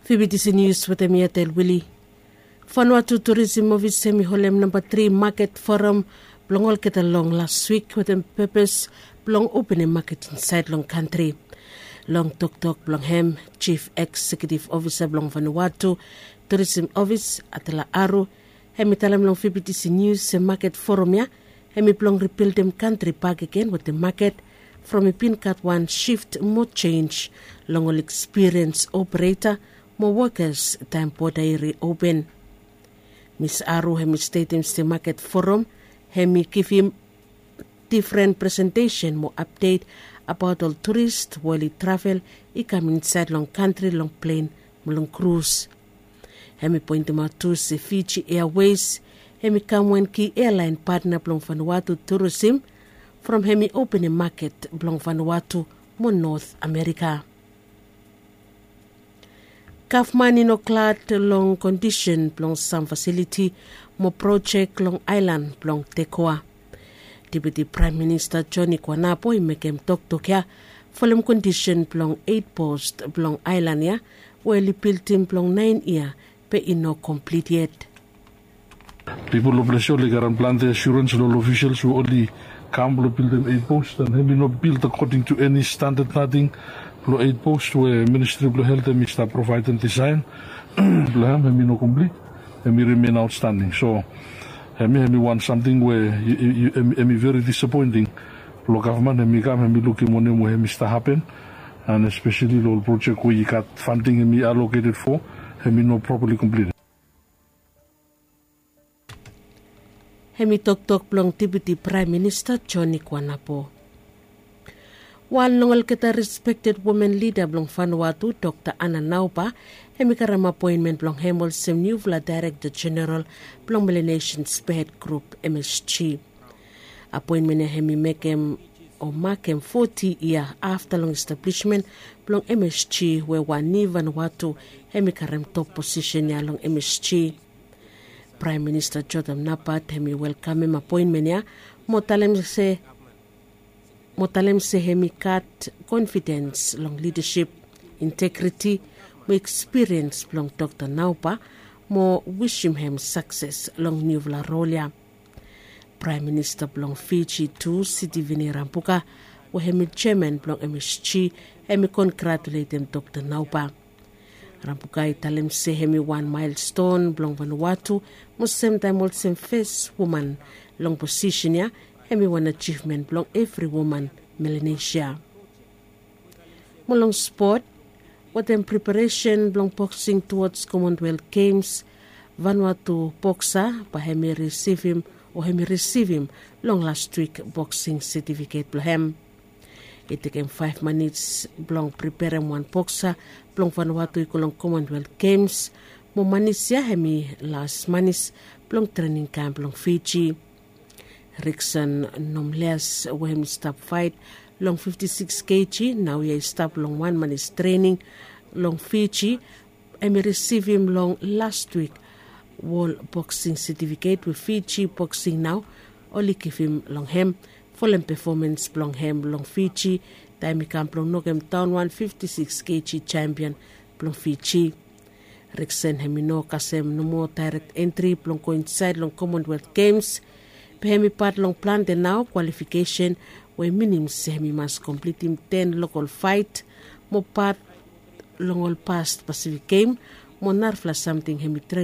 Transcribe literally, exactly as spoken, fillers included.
Fibitisi nius wetem mi atel wili. Fanuatu turisim ofis hem i holem namba tri maket foram blong olgeta long las wik wetem pepes blong openem maket insaed long kantri. Long toktok blong hem, jif eksekitiv ofisa blong fanuatu turisim ofis, atela aru, hem i talem long fibitisi nius se maket foram ya hem i blong ribildim kantri bakegen wetem maket, from i bin gat wan sift mo jenj long ol ekspiriens opereta mo wokas taem boda i riopen. Mis aru hem i stetem se maket foram hem i givim difren presentesen mo apdet abaot ol turist we oli travel i kam insaed long kantri long plen mo long krus. Hem i poentemaot tu se fiji eawes hem i kam wan ki ealaen patna blong fanuatu turisim, from hem i openem maket blong fanuatu mo not amerika. Gavman i no glad long kondisen blong sam fasiliti mo projek long aelan blong tekoa. Deputi praem minista joni kwanapo i mekem toktok ya folem kondisen blong eit post blong aelan ya we oli bildim blong naen yia be i no komplit yet. Pipol long ples ya oli garem plante asurens long ol ofisels we oli kam blong bildim eit post an hem i no bild akoding tu eni standad nating blong eit post we ministri blong helt hem i stap provaedem disaen blong hem hem i no komplit, hem i rimen aotstanding. So hem ya hem i wan samting we hem i veri disapoenting. Blong gavman hem i kam hem i lukim wanem we hem i stap hapen, an espeseli long ol projek we i gat fanting hem i aloketed fo, hem i no propali komplit. Hem i toktok blong deputi praem minista joni kwanapo. Wan long olgeta respekted women lida blong fanuatu dokta ana nauba hem i karem apoenmen blong hem olsem niufala daerekta jeneral blong melenesen sped grup msg. Apoenmen ya hem i mekem o makem foti yia afta long establismen blong msg we wan niu vanuatu hem i karem top posisen ya long msg. Praem minista jotam nabat hem i welkamem apoenmen ya mo talem se mo talem se hem i gat konfidens long lidasip, integriti mo ekspiriens blong dokta nauba mo wisim hem sakses long niufala rol ya. Praem minista blong fiji tu sitivini rambuka we hem i jeman blong msg hem i kongratuletem dokta nauba. Rambuka i talem se hem i wan maelston blong vanuatu mo semtaem olsem fes woman long posisen ya hem i wan ajivmen blong evri woman melanesia. Mo long spot, wetem preparesen blong boksing tuwods komonwelt gems, vanuatu boksa bae hem i risivim o hem i risivim long lastwik boksing setifiket blong hem. I tekem faef manis blong preperem wan boksa blong vanuatu i go long komonwelt gems, mo manis ya hem i las manis blong trening kamp blong fiji. Rikson nomleas we hem i stap faet long fifti siks keji naoia i stap long wan manis trening long fiji, hem i risivim long lastwik wol boksing setifiket we fiji boksing nao oli givim long hem folem pefomans blong hem long fiji, taem i kam blong nokemdaon wan fifti siks keji jampion blong fiji. Riksen hem i no kasem nomo daerek entri blong go insaed long komonwelt gems, be hem i pat long plante nao kwalifikesen we minim se hem i mas komplitim ten lokol faet mo pat long ol past pasifik gem mo narafala samting hem i tren